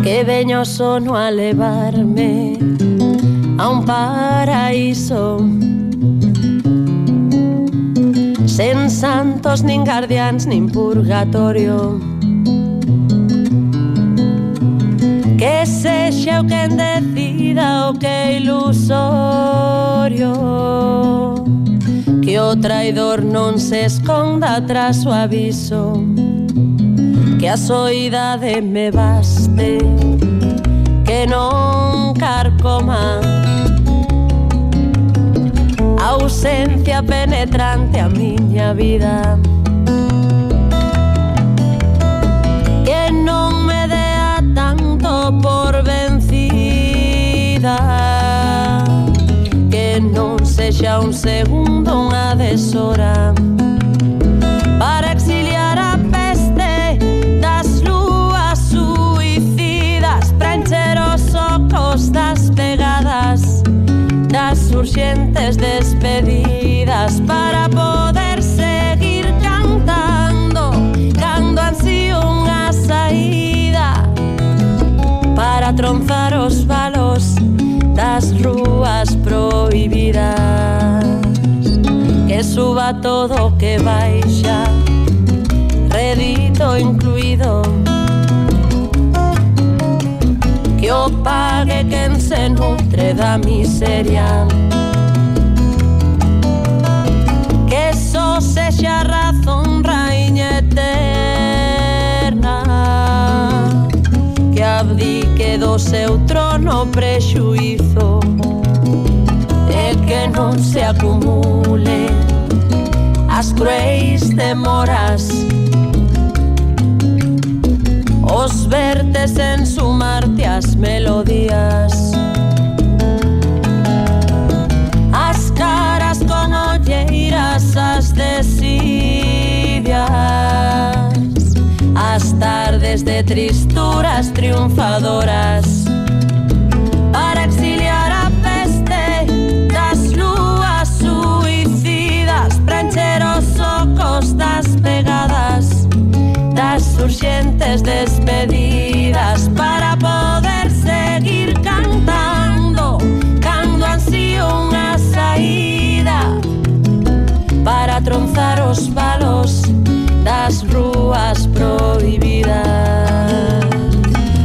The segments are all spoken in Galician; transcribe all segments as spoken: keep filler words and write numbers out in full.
Que veño sono a levarme a un paraíso sen santos, nin guardiáns, nin purgatorio. Que sexa o quen decida o que é ilusorio, que o traidor non se esconda tras o aviso, que a soidade me baste, que non carcoma a ausencia penetrante a miña vida, que non me dea tanto por vencida, que non sexa un segundo unha deshora para exiliar a peste das lúas suicidas, para encher os ocos das pegadas, das urxentes despedidas, para poder seguir cantando cando ansío unha saída, para tronzar os valos das rúas prohibidas, que suba todo que baixa, redito incluído, que o pague quen se nutre da miseria, que só sexa razón raíña eterna, que abdique do seu trono prexuízo, e que non se acumule as cruéis demoras, os vertes en sumarte as melodías, as caras con olleiras, as desidias, as tardes de tristuras triunfadoras, para exiliar a peste das lúas suicidas, para encher os ocos das pegadas, das urxentes despedidas, para poder seguir cantando cando ansío unha saída, para tronzar os valos das rúas prohibidas,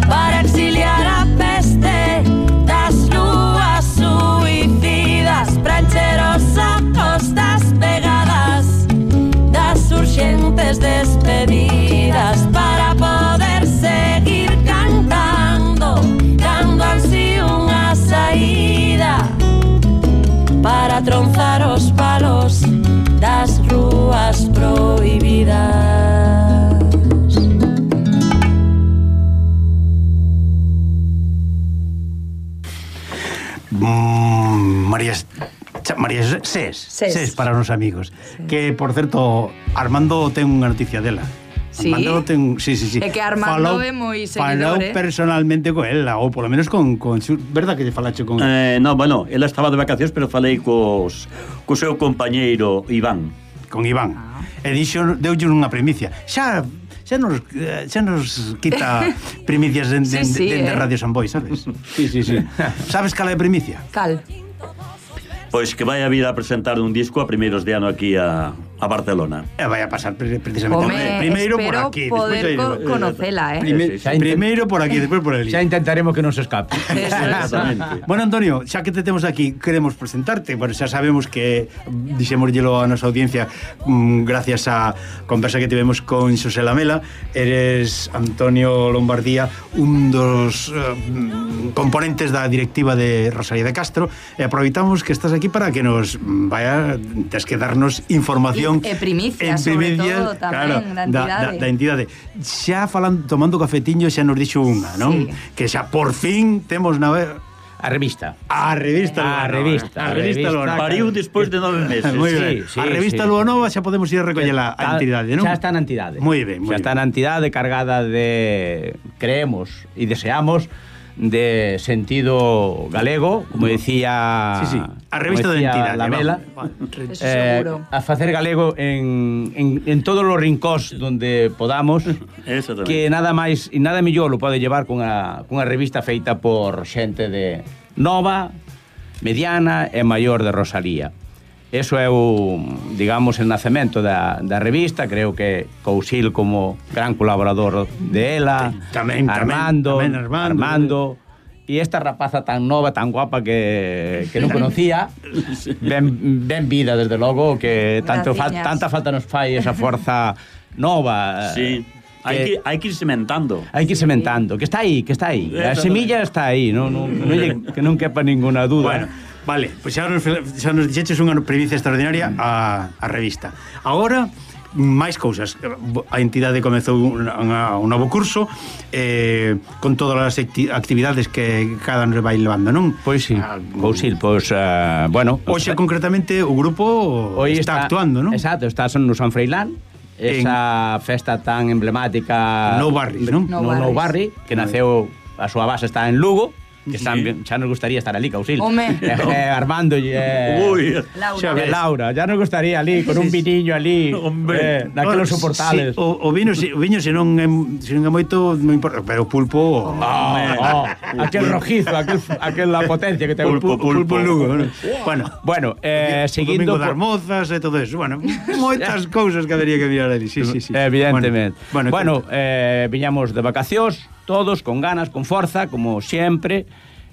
para exiliar a peste das lúas suicidas, para encher os ocos das pegadas, das urxentes despedidas, para poder seguir cantando cando ansío unha saída, para tronzar os palos das rúas prohibidas. Mm, María María Sés, Sés, Sés para os amigos. Sí. Que, por certo, Armando ten unha noticia dela. Sí? Armando ten, sí, sí, sí. É que Armando falou, é moi seguidor, falou eh? personalmente con ela, ou polo menos con, con su, verdad que lle falache con eh, no, bueno, ela estaba de vacacións, pero falei cos co seu compañeiro Iván. Con Iván. Ah. E dixo, deulle unha primicia. Xa xa nos, xa nos quita primicias de, de, sí, sí, de, de, de eh? Radio Samboy, sabes? Sí, sí, sí. Sabes cal é a primicia? Cal? Pois que vai a vir a presentar un disco a primeiros de ano aquí a, a Barcelona. E vai a pasar precisamente Home, primeiro por aquí, poder co conocela, eh. Prime, sí, sí. Primeiro por aquí, despois por ali. Xa intentaremos que non se escape. Exactamente. Bueno, Antonio, xa que te temos aquí, queremos presentarte. Bueno, xa sabemos que dixémosllelo a nosa audiencia mmm, gracias a conversa que tivemos con Xosé Lamela. Eres Antonio Lombardía, un dos uh, componentes da directiva de Rosalía de Castro, e aproveitamos que estás aquí para que nos vaya, tes que darnos información e, e primicias, sobre todo tamén, claro, da entidade. Da, da entidade. Xa falando, tomando cafetiño, xa nos dixo unha, non? Sí. Que xa por fin temos na a revista. A revista A revista. A revista Luanova. Pariu despois de nove meses. Moi ben. Sí, sí, a revista sí. Luanova xa podemos ir a recollela a entidade, non? Xa está na entidade. Moi ben, moi Xa está na entidade cargada de, creemos e deseamos, de sentido galego, como decía, sí, sí. A revista de identidade, Lamela, eh, a facer galego en, en, en todos os rincóns donde podamos, que nada máis e nada mellor lo pode llevar cunha, cunha revista feita por xente de nova, mediana e maior de Rosalía. Eso é o, digamos, el nacemento da, da revista. Creo que Cousil como gran colaborador de ela, tamén, Armando, tamén, tamén Armando, Armando e esta rapaza tan nova, tan guapa que, que non conocía, ben, ben vida, desde logo, que tanto fa, tanta falta nos fai esa forza nova. Sí. Hai que, hai que ir sementando. Hai que ir sementando, que está aí, que está aí. A semilla está aí, non, non, non, que non quepa ninguna duda. Bueno, vale, pois pues xa nos, xa nos dixeches unha primicia extraordinaria a, a revista. Agora, máis cousas. A entidade comezou un, un novo curso eh, con todas as actividades que cada ano vai levando, non? Pois sí, ah, Cousil, pois, uh, bueno... Hoxe, concretamente, o grupo está, está actuando, non? Exacto, está no San Freilán, esa en... festa tan emblemática... No Barris, non? No, no, no Barri, que naceu, a súa base está en Lugo, que están, sí. Xa nos gustaría estar ali, Cousil. Home. Eh, eh, Armando e eh, Uy, Laura. Eh, Laura, ya nos gustaría ali, con un viniño ali, eh, naquelos soportales. Sí, o, o vino, o viño se non é, se non é moito, non importa, pero o pulpo... Oh, oh, aquel rojizo, aquel, aquel la potencia que ten pulpo, o pulpo, pulpo, pulpo Lugo. Bueno, bueno, bueno eh, seguindo... O domingo das mozas e todo eso. Bueno, moitas cousas que habería que mirar ali. Sí, sí, sí. Evidentemente. Bueno, bueno, bueno eh, viñamos de vacacións, todos, con ganas, con forza, como sempre.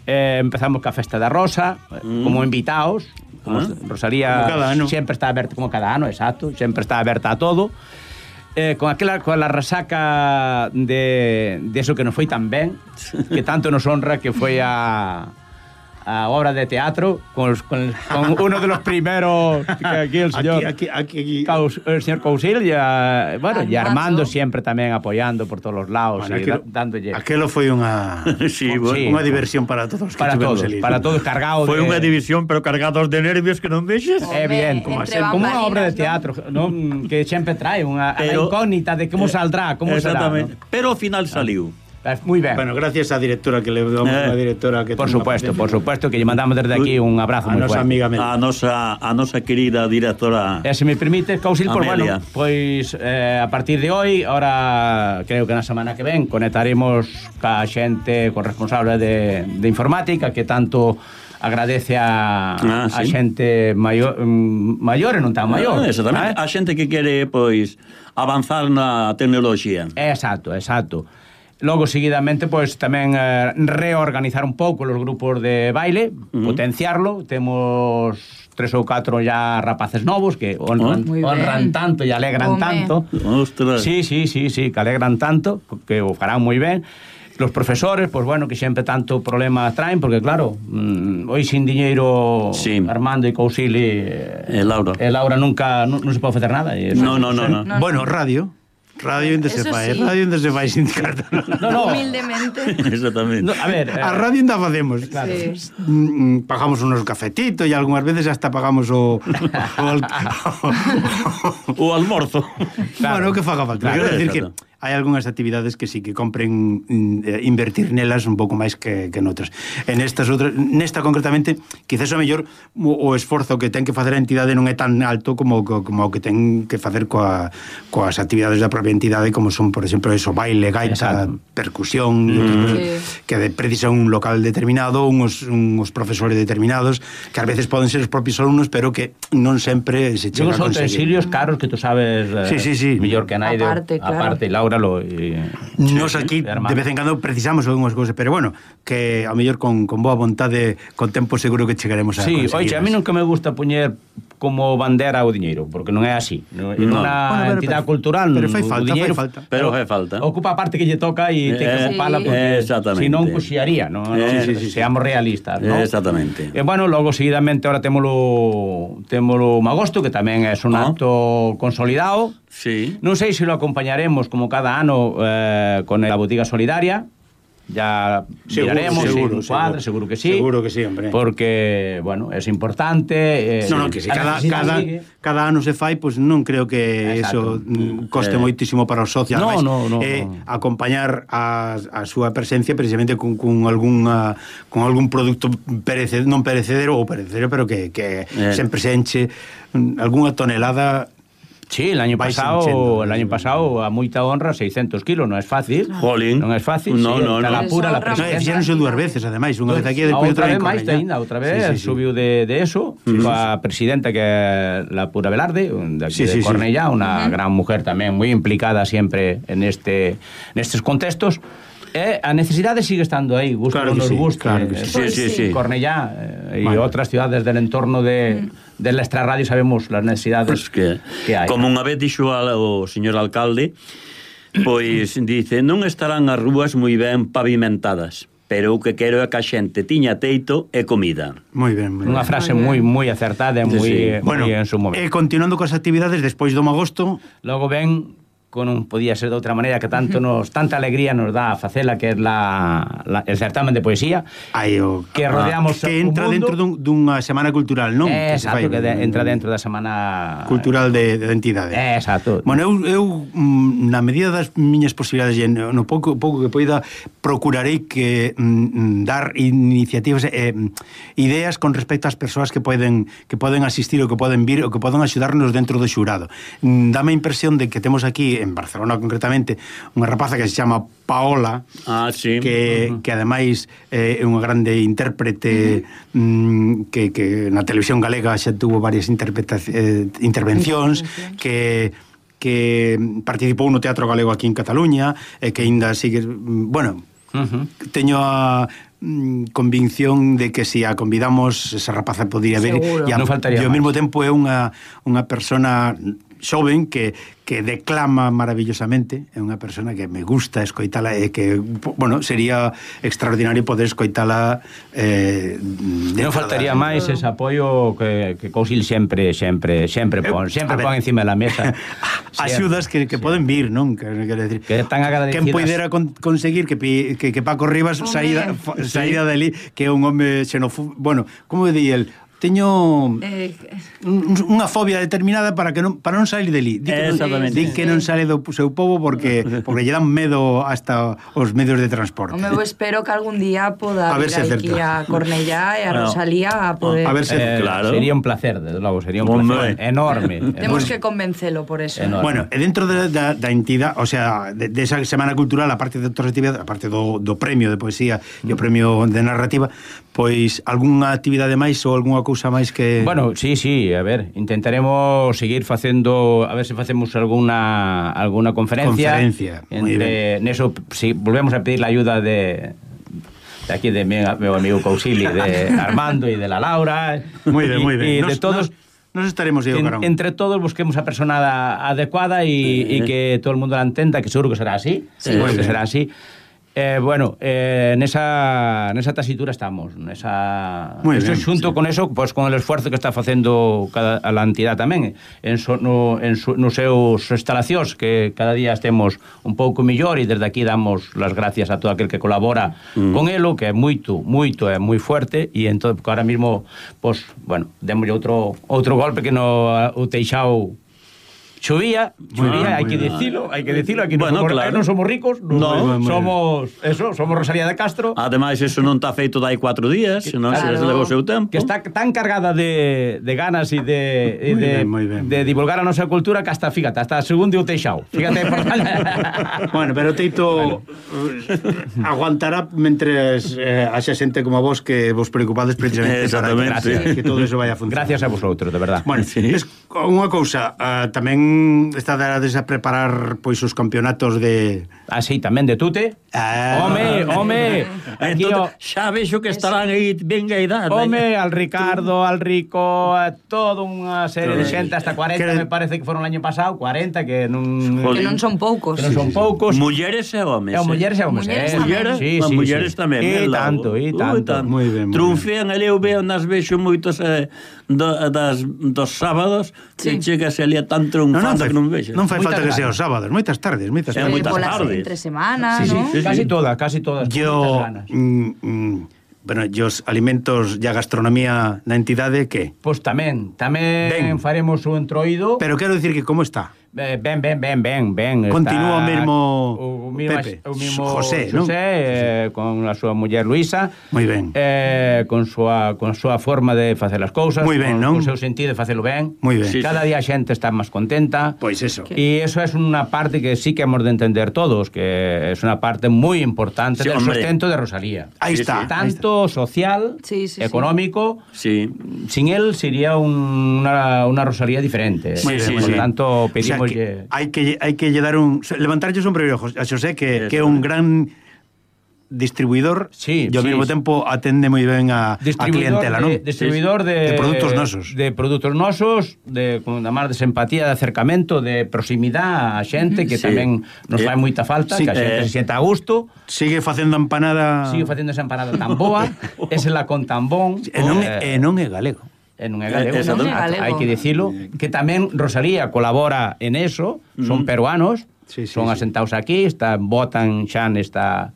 Eh, empezamos ca Festa da Rosa, mm. como invitados, como ah, Rosalía sempre está aberta, como cada ano, exacto, sempre está aberta a todo, eh, con aquela con la resaca de, de eso que nos foi tan ben, que tanto nos honra, que foi a a obra de teatro con, con, con uno de los primeros que aquí el señor aquí, aquí, aquí, Caus, el señor Cousil y, a, bueno, Armando. Y Armando siempre tamén apoyando por todos los lados, bueno, y aquel, da, dándolle aquelo foi unha sí, sí, unha diversión para todos que para todos, el para todos cargados foi de... unha división pero cargados de nervios que non vexes é bien, como, como unha obra de teatro, ¿no? Que sempre trae unha pero, incógnita de como saldrá, como será, ¿no? Pero ao final saliu. Muy ben. Bueno, gracias á directora que le damos eh, a directora que por supuesto, por supuesto que lle mandamos desde aquí un abrazo moi fuerte. Amiga a nosa a nosa querida directora. E se me permite, Cousil, por bueno, pois eh, a partir de hoy, ahora creo que na semana que ven conectaremos ca xente corresponsable de, de informática que tanto agradece a, ah, ¿sí? a xente maior, maior e non tan maior. Ah, exactamente, eh? A xente que quere pois avanzar na tecnoloxía. Exacto, exacto. Logo, seguidamente, pois tamén eh, reorganizar un pouco os grupos de baile, uh-huh. potenciarlo. Temos tres ou catro ya rapaces novos que honran, oh, honran tanto e alegran Home. tanto. Ostras. Sí, sí, sí, sí, que alegran tanto, que o farán moi ben. Los profesores, pois bueno, que sempre tanto problema traen, porque claro, mmm, hoy sin diñeiro sí. Armando e Cousil e, e Laura. E Laura nunca, non, non se pode facer nada. E no, no, no, no, no. Bueno, radio. Radio onde se fai, sí. Radio onde se fai sin carta. No, no. Humildemente. Exactamente. No, a ver, eh, a radio onde facemos. Claro. Sí. Mm, pagamos unos cafetitos e algunhas veces hasta pagamos o o, o, o almorzo. Claro. Bueno, que faga falta. Claro, quero decir que hai algunhas actividades que sí que compren eh, invertir nelas un pouco máis que, que noutras. En estas outras, nesta concretamente, quizás o mellor o, o esforzo que ten que facer a entidade non é tan alto como, como o que ten que facer coa, coas actividades da propia entidade, como son, por exemplo, eso, baile, gaita, exacto. Percusión, mm. sí. que precisan un local determinado, unos, unos profesores determinados, que a veces poden ser os propios alumnos, pero que non sempre se chega a conseguir. Son utensilios caros que tú sabes eh, sí, sí, sí. mellor que naide, aparte, claro. Aparte, Laura lo, y, nos aquí de, de vez en cando precisamos algunhas cousas, pero bueno, que a mellor con, con boa vontade, con tempo seguro que chegaremos a sí, conseguir. Oye, a mí nunca me gusta poñer como bandera o diñeiro, porque non é así. No. En unha bueno, entidade pero, cultural, pero fai falta, diñeiro, fai falta. Pero fai falta. Ocupa a parte que lle toca e eh, ten que ocupala sí. porque si non cuxiaría, ¿no? Eh, sí, sí, sí, seamos realistas, ¿no? Exactamente. E bueno, logo seguidamente ahora témolo témolo Magosto, que tamén é un ah. acto consolidado. Sí. Non sei se lo acompañaremos como cada ano eh, con a botiga solidaria. ya miraremos seguro, en cuadra, seguro que sí. Seguro que sí, hombre. Porque, bueno, es importante. Eh, no, no, que si cada, cada, cada ano se fai, pois pues non creo que Exacto. eso coste eh. moitísimo para os socios. No, no, no, eh, no. Acompañar a, a súa presencia precisamente con, con, algún, con algún produto perecedero, non perecedero ou perecedero, pero que, que eh. sempre se enche algunha tonelada. Sí, el año pasado, el año pasado a moita honra seiscentos kilos, non é fácil. Jolín. Non é fácil. No, sí, no, no. La pura, la presidencia. No, fixeronse dúas veces, ademais, unha vez aquí e despois outra vez máis ainda, outra vez sí, sí, sí. subiu de, de eso, sí, a presidenta que é la pura Velarde, de, sí, de sí, Cornellá, sí. Unha uh-huh. gran mujer tamén moi implicada sempre en este nestes contextos. Eh, a necesidade sigue estando aí, gusto claro nos sí, guste. Claro que sí. Eh, sí, sí, sí. Cornellá eh, y bueno. Otras ciudades del entorno de, mm. de la extrarradio sabemos las necesidades pues que, que hai. Como unha vez dixo o señor alcalde, pois dice, non estarán as rúas moi ben pavimentadas, pero o que quero é que a xente tiña teito e comida. Moi ben, moi Unha ben. frase moi moi acertada e moi sí. Bueno, en su momento. E eh, continuando coas actividades despois do agosto, logo ven con un, podía ser de outra maneira que tanto nos tanta alegría nos dá a facela, que é la, la el certamen de poesía. Ai, o, que rodeamos que entra dentro dun, dunha semana cultural, non? Eh, exacto, que, que de, entra dentro da semana cultural de, de entidade. Eh, exacto. Bueno, eu, eu na medida das miñas posibilidades e no pouco, pouco que poida procurarei que mm, dar iniciativas eh, ideas con respecto ás persoas que poden que poden asistir ou que poden vir ou que poden axudarnos dentro do xurado. Mm, dame a impresión de que temos aquí en Barcelona concretamente unha rapaza que se chama Paola, ah, sí. que, uh-huh. que ademais eh, é unha grande intérprete uh-huh. mm, que, que na televisión galega xa tuvo varias eh, intervencións que que participou no Teatro Galego aquí en Cataluña e que ainda sigue, bueno, uh-huh. teño a mm, convicción de que se si a convidamos esa rapaza podría ver e ao mesmo tempo é unha unha persona xoven que, que declama maravillosamente, é unha persona que me gusta escoitala e que, bueno, sería extraordinario poder escoitala eh, non faltaría da... máis ese apoio que, que Cousil sempre sempre sempre pon, sempre pon encima da mesa axudas que, que poden vir, non? Que, que, decir, que tan agradecidas. Quen poidera con, conseguir que, que, que Paco Rivas saída, saída dali, que é un home xenofóbico, bueno, como di el, teño eh, unha fobia determinada para que non para non salir deli. Di que, exactamente. Di que non sale do seu povo porque porque lle dan medo hasta os medios de transporte. Home, eu espero que algún día poda a vir aquí a Cornellá e a Rosalía a poder... A ver se eh, claro. Sería un placer, desde logo, sería un placer enorme. Temos que convencelo por eso. Enorme. Bueno, e dentro da, da, da entidade, o sea, de, de esa semana cultural, a parte de outras actividades, a parte do, do premio de poesía e o premio de narrativa, pois algunha actividade máis ou algunha cousa máis que... Bueno, sí, sí, a ver, intentaremos seguir facendo, a ver se facemos alguna alguna conferencia. Conferencia, entre neso, si volvemos a pedir la ayuda de de aquí de mi, meu amigo Cousili, de Armando e de la Laura. Moi ben, moi ben. E de todos nos estaremos yo, en, entre todos busquemos a persona adecuada e sí. que todo el mundo la entenda, que seguro que será así, sí, seguro que será así. Eh, bueno, eh, nesa, nesa tasitura estamos, nesa, Muy eso bien, xunto sí. con eso, pues con el esfuerzo que está facendo cada, a la entidade tamén en, so, no, en su, nos seus instalacións, que cada día estemos un pouco millor, e desde aquí damos las gracias a todo aquel que colabora mm. con elo, que é moito, moito, é moi fuerte, e entón, porque ahora mismo, pues, bueno, demos outro outro golpe que no o Teixao chovía, chovía, hai que dicilo, hai que dicilo, aquí bueno, non, somos, claro. non somos ricos, no, no, somos eso, somos Rosalía de Castro. Ademais, eso non está feito dai cuatro días, senón claro. se leva o seu tempo. Que está tan cargada de, de ganas e de, e de, bien, bien. de divulgar a nosa cultura que hasta, fíjate, hasta segundo o Teixao. Fíjate, por... Bueno, pero Teito bueno. aguantará mentres eh, haxa xente como a vos que vos preocupades precisamente para que, que todo eso vaya a funcionar. Gracias a vosotros, de verdad. Bueno, sí. Es unha cousa, uh, tamén estarades a preparar pois os campeonatos de... Ah, sí, tamén de tute. Ah, home, home. Aquí entón, xa vexo que estarán aí ben a idade. Home, al Ricardo, al Rico, a toda unha serie de xente, hasta cuarenta, que... me parece que foron o año pasado, cuarenta, que non... Que non son poucos. Que non son poucos. Mulleres e homes. E mulleres e homes. Mulleres, sí, sí, mulleres sí. tamén. E tanto, e tanto. Moi ben. Triunfean, ali eu veo nas vexo moitos eh, do, das, dos sábados, sí. que chegas ali a tan triunfados. falta que non me vexa. Non fai falta que sea os sábados, moitas tardes, moitas tardes. moitas tardes. Entre semana, sí, ¿no? Sí, sí, casi sí. todas, casi todas. Yo, mm, mm, bueno, os alimentos e a gastronomía na entidade, que? Pois tamén, tamén faremos o entroido. Pero quero dicir que como está? Ben, ben, ben, ben, ben, ben. Continúa o mesmo o mismo, Pepe, o mismo José, José, non? eh, con a súa muller Luisa. Moi ben. Eh, con súa con súa forma de facer as cousas, Moi ben, con, non? con o seu sentido de facelo ben. Moi ben. Sí, Cada día a xente está máis contenta. Pois eso. E eso é unha parte que sí que hemos de entender todos, que é unha parte moi importante Sí, del hombre. sustento de Rosalía. Aí Sí, está. sí. Tanto social, Sí, sí, sí. económico, Sí. sin él sería un, una, una Rosalía diferente. Muy bien, Por muy lo bien. tanto, O sea, pedimos... que hai que hai que lle dar un levantarlle un sombrero a Xosé, que, que é un gran distribuidor, Sí, e ao sí, mesmo sí. tempo atende moi ben a, a clientela, non? de, distribuidor de, de produtos nosos. de produtos nosos, de con a máis de simpatía, de acercamento, de proximidade a xente que Sí. tamén nos Eh, fai moita falta, sí, que a xente eh. se sienta a gusto, Sigue facendo empanada. sigue facendo esa empanada tan boa, esa la con tan bon, E non, é- e non é galego. e non é galego, Eh, non é galego. hai que dicilo, que tamén Rosalía colabora en eso, son peruanos, Sí, sí, son sí. asentados aquí, están, votan xa nesta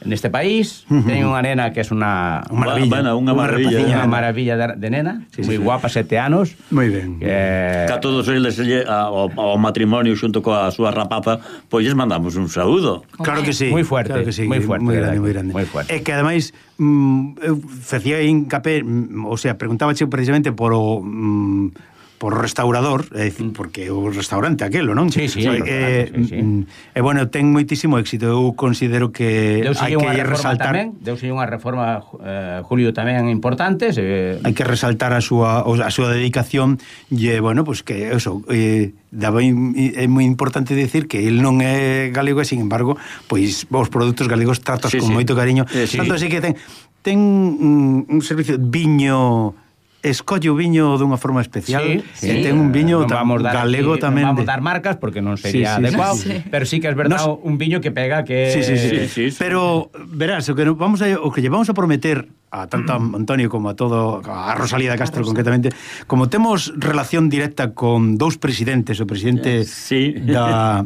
neste país, teñen unha nena que é unha Unha maravilla. Bueno, unha maravilla. rapaciña. unha maravilla de, de nena, Sí, moi sí. guapa, sete anos. Moi ben. Eh, Que a todos eles lle- a- ao, ao matrimonio xunto coa súa rapaza, pois lles mandamos un saúdo. Claro que sí. Moi fuerte, claro que sí, moi fuerte, moi grande, verdade, moi grande. moi fuerte. E que ademais mm, eu facía hincapé, mm, o sea, preguntábache precisamente por o mm, por o restaurador, é dicir, porque o restaurante aquelo, non? Sí, sí, O sea, o restaurante, eh, sí, sí. mm, E bueno, ten moitísimo éxito. Eu considero que Deuse hai unha que reforma resaltar tamén, deuse unha reforma eh, Julio tamén importante, se, hai que resaltar a súa a súa dedicación e bueno, pues que eso eh, daba in, é moi importante decir que el non é galego e sin embargo, pois os produtos galegos tratos Sí, con sí. moito cariño. Eh, sí. Tanto así que ten ten mm, un servicio de viño, escolle o viño dunha forma especial. Sí, e sí. ten un viño Non tam, vamos dar galego aquí, tamén. Non vamos de- dar marcas porque non sería Sí, sí, adecuado, sí, sí. pero sí que es verdad Nos- un viño que pega que Sí, sí, sí, Sí, sí, sí. Pero verás, o que no- vamos a o que lle vamos a prometer a tanto a Antonio como a todo a Rosalía de Castro concretamente, como temos relación directa con dous presidentes, o presidente Sí. da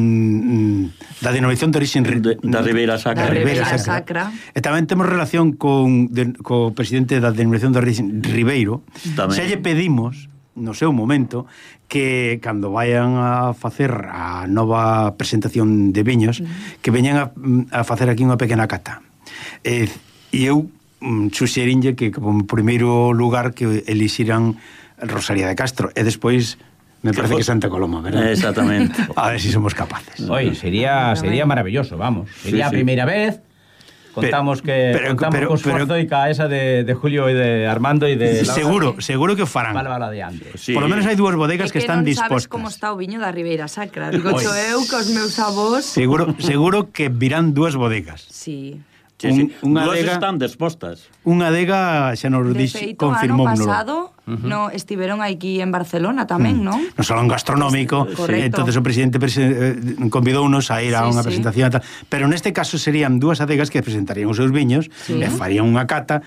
mm, da denominación de origen De- da Ribeira Sacra. Da Ribeira Sacra. Sacra. E tamén temos relación con de, co presidente da denominación de origen Ribeiro. Tamén. Se lle pedimos no seu momento que cando vayan a facer a nova presentación de viños, que veñan a, a facer aquí unha pequena cata. E, e eu mm, suxerinlle que como primeiro lugar que elixiran Rosalía de Castro e despois me parece que Santa Coloma, verdad? Exactamente. A ver si somos capaces. Oye, sería sería maravilloso, vamos. Sería Sí, a sí. primeira vez. Contamos que pero- contamos pero- co esforzo pero- e ca esa de, de Julio e de Armando e de Laura. Seguro, seguro que o farán. Vale, vale, adiante. Sí. Por lo menos hai dúas bodegas É que, que están non dispostas. sabes como está o viño da Ribeira Sacra. Digo, xo eu cos meus avós. Seguro, seguro que virán dúas bodegas. Sí. Sí, sí. Un- unha Dúas adega- están dispostas. Unha adega xa nos De dix, feito, ano confirmómolo. pasado no, estiveron aquí en Barcelona tamén, non? No salón gastronómico, Correcto. entonces o presidente prese, eh, convidounos a ir a Sí, unha sí. presentación e tal. Pero neste caso serían dúas adegas que presentarían os seus viños Sí. e farían unha cata,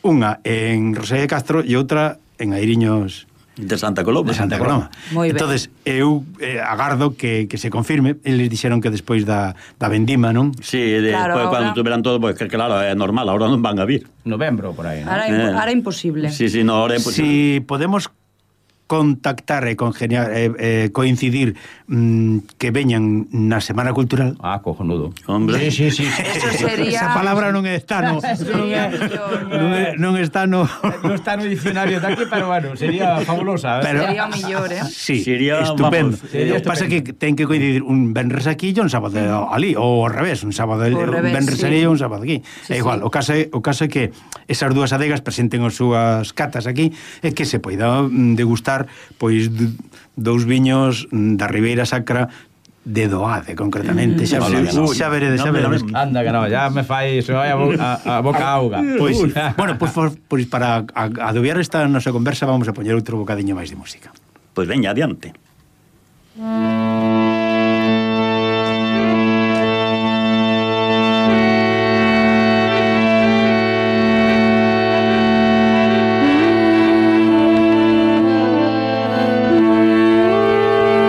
unha en Rosalía de Castro e outra en Airiños De Santa Coloma. de Santa Coloma. Moi ben. Entonces, eu eh, agardo que, que se confirme. Eles dixeron que despois da, da vendima, non? Sí, de, Claro, pues, ahora- cando tuveran todo, pues, que claro, é normal, ahora non van a vir. Novembro, por aí, ¿no? Ahora, Eh. ahora imposible. Sí, sí, no, ahora é imposible. Si podemos contactar e congeniar, eh, eh, coincidir mm, que veñan na Semana Cultural. Ah, cojonudo. Hombre. Sí, sí, sí. Eso sería... Esa palabra non está no, Sería mellor. non, é- non está no. No está no diccionario de aquí, pero bueno, sería fabulosa. ¿eh? Pero- Sería o mellor, eh? Sí, Sería, estupendo. vamos, sería Lo que pasa que ten que coincidir un venres aquí e un sábado ali, ou ao revés, un sábado Ao un revés, venres sí. ali e un sábado aquí. Sí, É igual, sí. o caso é, o caso é que esas dúas adegas presenten as súas catas aquí e que se poida mm, degustar pois d- dous viños mm, da Ribeira Sacra de Doade, concretamente. Xa, Hola, xa, no. xa veredes, xa No, pero veredes. Anda que no, ya me fai, se vai a, bo- a, a boca auga. Pois, bueno, pois, pois, pois para a- adobiar esta nosa conversa vamos a poñer outro bocadiño máis de música. Pois veña, adiante. Thank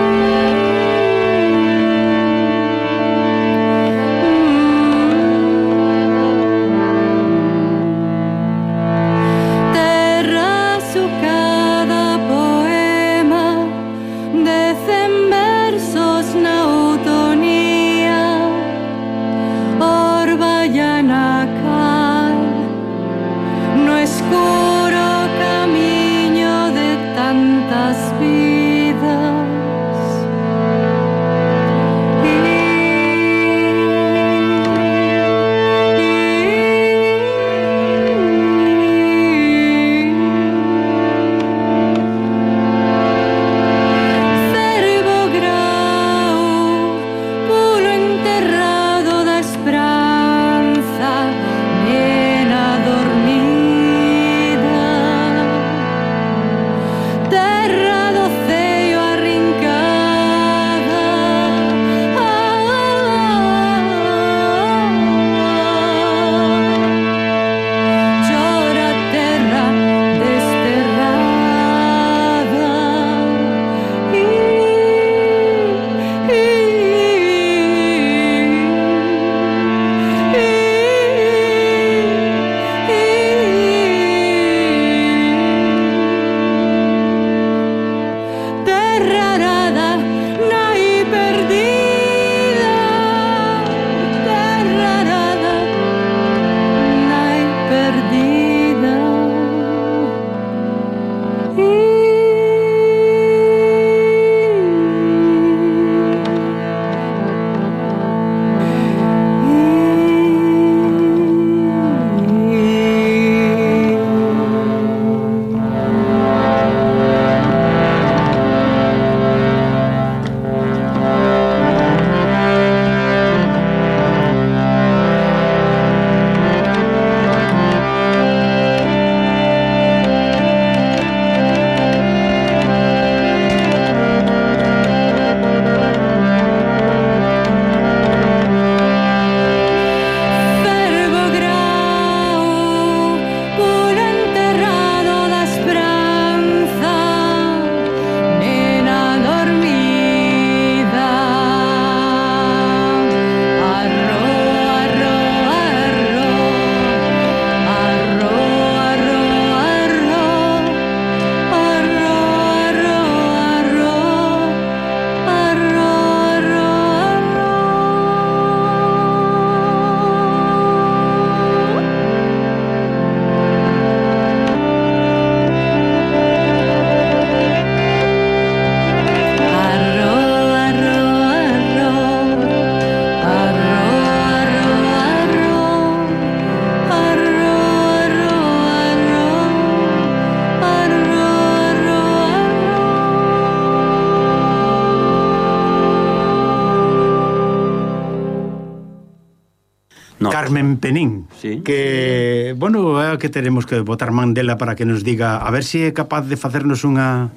No. Carmen Penín, sí. que, bueno, é que teremos que botar man dela para que nos diga, a ver se si é capaz de facernos unha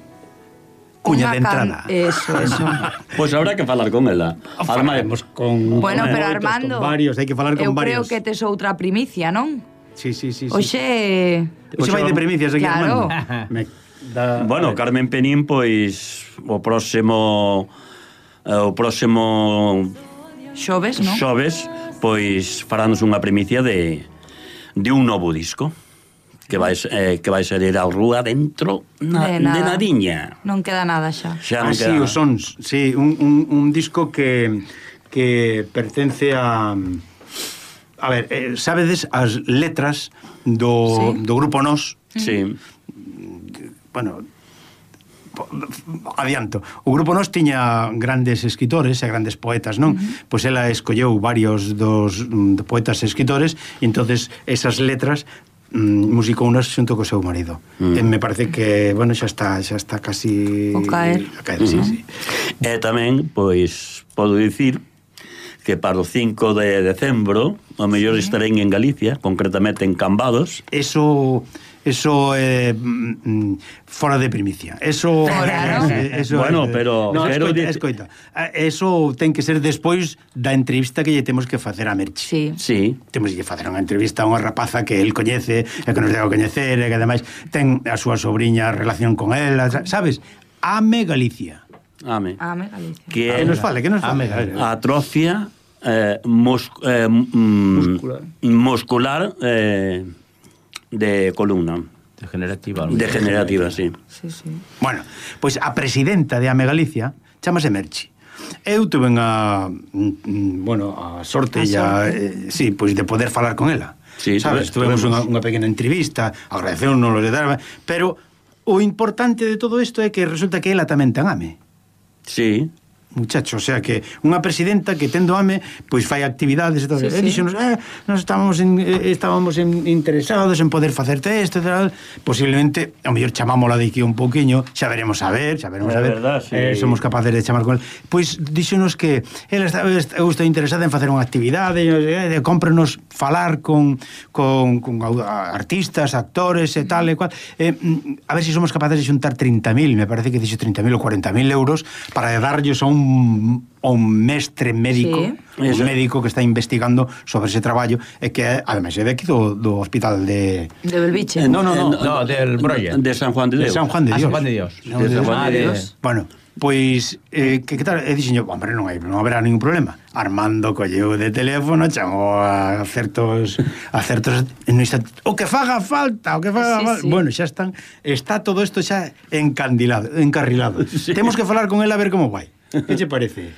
cuña de entrada. Eso, eso. Pois pues habrá que falar con ela. Falaremos con bueno, con pero moitos, Armando, con varios, hai que falar con eu varios. creo que tes outra primicia, non? Sí, sí, sí. Oxe... Oxe vai de primicias aquí, claro. Armando. Me da... Bueno, Carmen Penín, pois, o próximo... O próximo... Xoves, non? Xoves, pois faranos unha primicia de, de un novo disco que vai, eh, que vai salir á rúa dentro na, de, de nadiña. Non queda nada xa. Xa ah, non sí, queda os sons, sí, un, un, un disco que que pertence a a ver, eh, sabedes as letras do, sí. do grupo Nós. Sí. Bueno, adianto. O grupo Nós tiña grandes escritores e grandes poetas, non? Uh-huh. Pois ela escolleu varios dos de poetas e escritores e entonces esas letras mm, musicounas xunto co seu marido. Uh-huh. E me parece que, bueno, xa está, xa está casi o caer. A caer, uh-huh. sí, sí. E tamén, pois, podo dicir que para o cinco de decembro o mellor sí. estarei en Galicia, concretamente en Cambados. Eso... Eso é eh, mm, fora de primicia. Eso, claro. eso bueno, es, pero no, quero escoita, escoita. Eso ten que ser despois da entrevista que lle temos que facer a Merchi. Sí. Sí. Temos que facer unha entrevista a unha rapaza que el coñece, e que nos debe coñecer, e que ademais ten a súa sobrinha relación con ela, sabes? Ame Galicia. Ame. Ame Galicia. Que, que nos fale, que nos fale. Atrofia eh, mos, eh, mm, muscular, muscular eh, de columna. Degenerativa. Degenerativa, sí. Sí, sí. Bueno, pois a presidenta de Ame Galicia chamase Merchi. Eu tuve a, bueno, a sorte, a ya, sorte. Eh, sí, pois de poder falar con ela. Sí, sabes, tuvemos unha, unha pequena entrevista, agradeceu non lo de dar, pero o importante de todo isto é que resulta que ela tamén ten ame. Sí. Muchacho, o sea que unha presidenta que tendo ame, pois fai actividades e todo. Sí, e sí. Dixonos, eh, nos estábamos en, eh, estábamos en, interesados en poder facerte isto e tal. Posiblemente, ao mellor chamámola de aquí un pouquiño, xa veremos a ver, xa veremos a ver. Verdad, sí. eh, somos capaces de chamar con el. Pois dixonos que ela está, eu estou interesada en facer unha actividade, eh, de cómprenos falar con, con, con artistas, actores e tal e cual. Eh, a ver se si somos capaces de xuntar trinta mil, me parece que dixo trinta mil ou cuarenta mil euros para darlles a un un mestre médico, sí. un médico que está investigando sobre ese traballo e que ademais é de aquí do, do hospital de de Belviche. Eh, no, no, no, no, no, del Brolla. De San Juan de Dios. De San Juan de Dios. Ah, San Juan de Dios. No, de San Juan de Dios. Dios. Bueno, pois eh, que, que tal? E dixen, hombre, non hai, non haberá ningún problema. Armando colleu de teléfono, chamou a certos a certos no instante, o que faga falta, o que faga sí, falta. Sí. Bueno, xa están, está todo isto xa encandilado, encarrilado. Sí. Temos que falar con ela a ver como vai. Que che parece?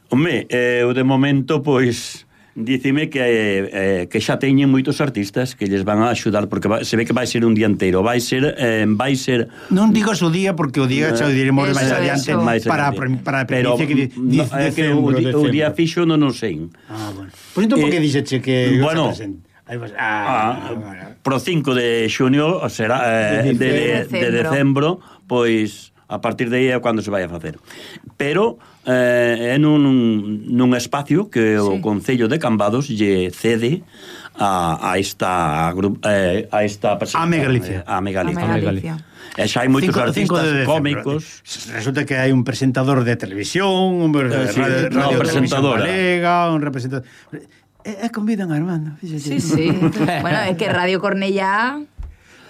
Home, eu de momento, pois, dicime que, eh, que xa teñen moitos artistas que lles van a axudar, porque va, se ve que vai ser un día inteiro, vai ser... Eh, vai ser non digas o día, porque o día xa o diremos máis adiante para, para, para pero que no, é que o, o día fixo non non sei. Ah, bueno. Pois entón, por que dixeche que... Bueno, Aí vas, ah, ah, pro cinco de xunio será eh, de, de, de, de decembro, pois a partir de aí é cando se vai a facer. Pero eh, é nun, nun espacio que sí. o Concello de Cambados lle cede a, a esta eh, a esta persona. Ame Galicia. Ame Galicia. Ame Galicia. E xa hai moitos cinco, artistas cinco cómicos. Resulta que hai un presentador de televisión, un eh, sí, radio, no, radio presentadora. Galega, un representador... E, e convidan a Armando. Sí, sí. Bueno, é que Radio Cornellá...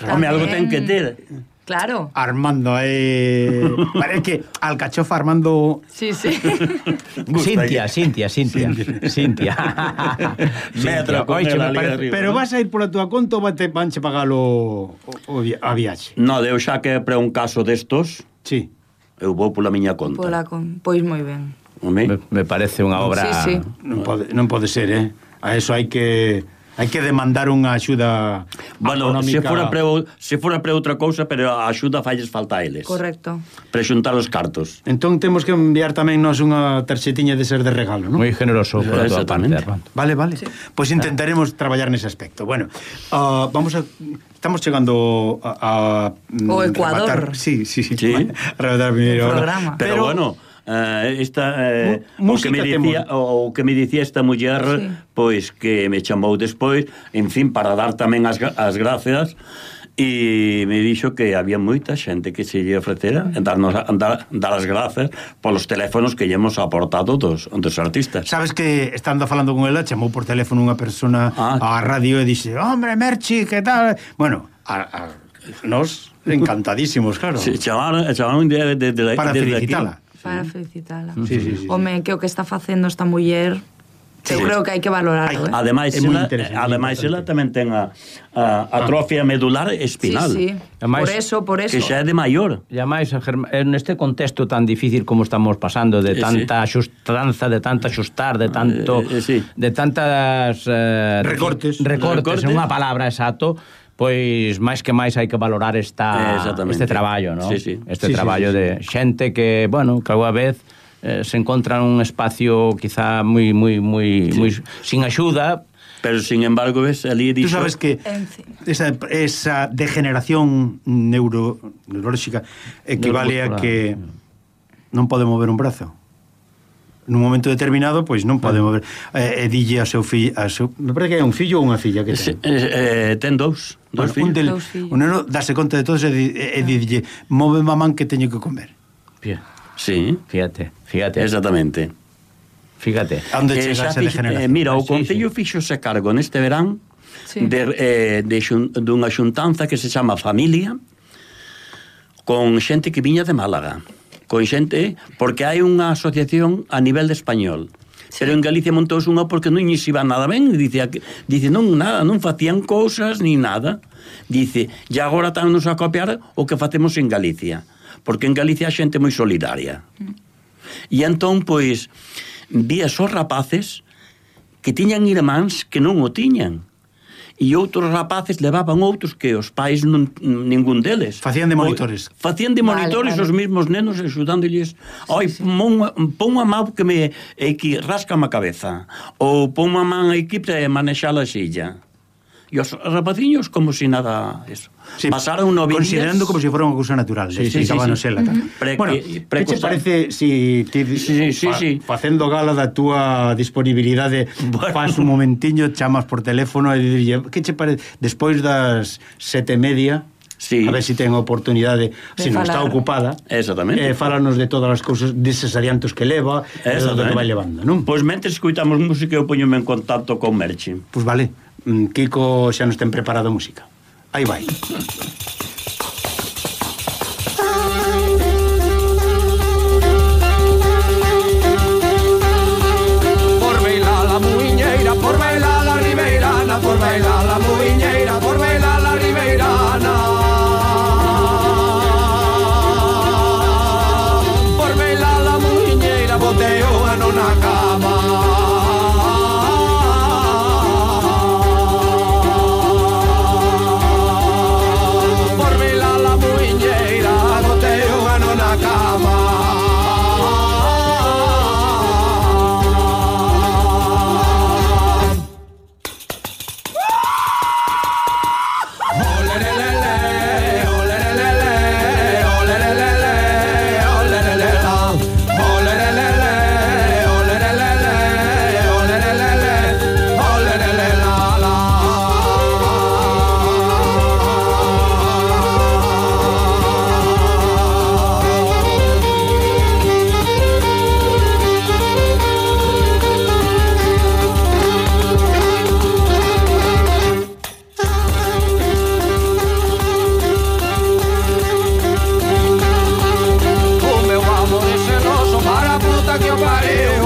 Home, algo ten que ter. Claro. Armando, eh... Parece que Alcachofa Armando... Sí, sí. Cintia, Cintia, Cintia. Cintia. Metro, coiche, me parece. Pero vas a ir pola túa conta ou vanche pagalo o, o, a viaxe? No, deu xa que para un caso destos... Sí. Eu vou pola miña conta. Pola con... Pois moi ben. Me, me parece unha obra... Sí, sí. Non pode, non pode ser, eh? A eso hai que... Hai que demandar unha axuda bueno, económica. Se fora, pre, se fora pre outra cousa, pero a axuda falles falta a eles. Correcto. Pre xuntar os cartos. Entón temos que enviar tamén nos unha tarxetiña de ser de regalo, non? Moi generoso por a tua parte. Vale, vale. Sí. Pois pues intentaremos ah. traballar nese aspecto. Bueno, uh, vamos a... Estamos chegando a... a o Ecuador. Rematar, sí, sí, sí. sí. A rematar primeiro. Pero, pero bueno... uh, esta uh, o que me dicía o, o que me dicía esta muller, sí. Pois que me chamou despois, en fin, para dar tamén as, as gracias. E me dixo que había moita xente que se lle ofrecera darnos, dar, dar as grazas polos teléfonos que lle hemos aportado dos, dos artistas. Sabes que, estando falando con ela, chamou por teléfono unha persona ah. á radio e dixe, hombre, Merchi, que tal? Bueno, a, a, nos encantadísimos, claro. Sí, chamaron, chamaron de, de, de, para felicitala. Para felicitala. Sí, sí, sí. Home, que o que está facendo esta muller... Eu sí. creo que hai que valorarlo, eh? Ademais, ela, ademais ela tamén ten a, a atrofia medular espinal. Sí, sí. Ademais, por eso, por eso. Que xa é de maior. E ademais, neste contexto tan difícil como estamos pasando, de tanta sí. Xustranza, de tanta xustar, de tanto eh, eh, sí. de tantas eh, recortes, recortes, recortes, unha palabra exacto, pois máis que máis hai que valorar esta este traballo, ¿no? Sí, sí. Este sí, traballo sí, sí, sí. de xente que, bueno, que alguna vez Eh, se encontra un espacio quizá moi moi moi sí. moi sin axuda, pero sin embargo ves ali dixo... Tú sabes que esa, esa degeneración neuro, neurolóxica equivale a que non pode mover un brazo. Nun momento determinado, pois non pode mover. E eh, dille a seu fillo, a seu, me parece que é un fillo ou unha filla que ten. Eh, eh, ten dous, dous bueno, fillos. Un, del, un neno dase conta de todo e, e, e dille, move mamán que teño que comer. Bien. Sí, fíjate, fíjate. Exactamente. Fíjate. Onde chega esa degeneración? Eh, mira, o Concello sí, sí. fixose cargo neste verán sí. de, eh, de xun, dunha xuntanza que se chama Familia, con xente que viña de Málaga, con xente, porque hai unha asociación a nivel de español. Sí. Pero en Galicia montouse unha porque non lles iba nada ben, dice, dice non, nada, non facían cousas ni nada. Dice, e agora estamos a copiar o que facemos en Galicia. Porque en Galicia a xente moi solidaria. Mm. E entón, pois, vi os rapaces que tiñan irmáns que non o tiñan. E outros rapaces levaban outros que os pais non, ningún deles. Facían de monitores. O, facían de monitores vale, vale. Os mesmos nenos axudándoles. Oi, sí, sí. pon a mão que me que rasca-me a cabeza. Ou pon a man aquí para manexar a silla. E os rapaciños como si nada eso. Sí, pasaron novillas considerando como si fuera unha cousa natural. Sí, sí, sí, sí. Uh-huh. Pre, bueno, que che parece si ti sí, sí, fa, sí. facendo gala da túa disponibilidade, bueno, faz un momentiño, chamas por teléfono e dirlle, que che parece despois das sete e media? Sí. A ver se si ten oportunidade, se si non está ocupada. Exactamente. Eh, fálanos de todas as cousas, deses adiantos que leva, e do que vai levando, non? Pois mentre escoitamos música eu poñome en contacto con Merchi. Pois vale. Kiko xa nos ten preparado música. Aí vai. Por bailar la muiñeira, por bailar la ribeirana, por bailar la muiñeira, por bailar la ribeirana. Por bailar la muiñeira, boteo en una cama. Que o pariu